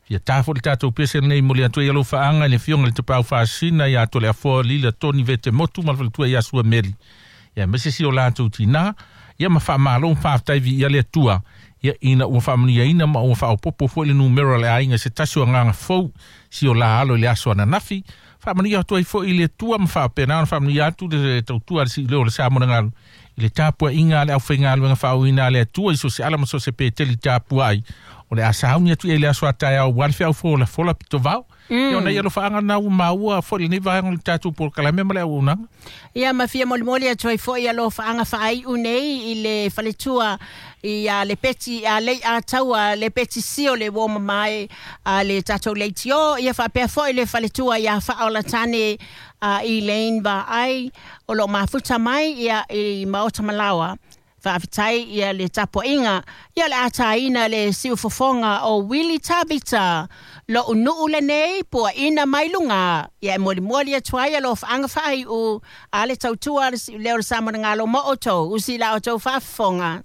Fia ta foi le tatou pese lenei momoli atu ai alofaaga i le Afioga i le Tapaau Faasisina ia Toleafoa Lila Toni Vete Motu ma le faletua ia Sua Meli, ia aemaise si o latou tinā, ia ma faamalo ma faafetai viia le Atua, ia ina ua faamanuiaina ma ua faaopoopo foi le numera o le aiga i se tasi o agaga fou si o la alo i le aso ananafi. Faamanuia atu ai foi i le Atua ma faapena ona faamanuia atu le tautua a le Siuleo o le Samoanagalu i le tapuaiga a le aufaigaluega faauuina a le Atua i so o se ala ma so o se Peteli tapuai o le a sauni atu i ai i le aso a taeao aua le feau folafola pitovao. Ia o nai alofaaga na ua maua foi i lenei vaega o le tatou polokalame ma le auaunaga. Ia ma fia molimoli atu ai foi alofaaga faaiu nei i le faletua ia le Peti a Leiataua le Peti Sio le uo mamae a le tatou leitio ia faapea foi le faletua ia Faaolatane a Elaine Vaai o lo o mafuta mai ia i Maota Malaoa. Faafetai ia le tapuaiga ia o le a taina le siufofoga o Willie Tavita lo'u nuu lenei puaina mai luga ia e molimoli atu ai alofaaga faaiu a le tautua a le siuleo o le Samoanagalo mo outou usi la outou faafofoga.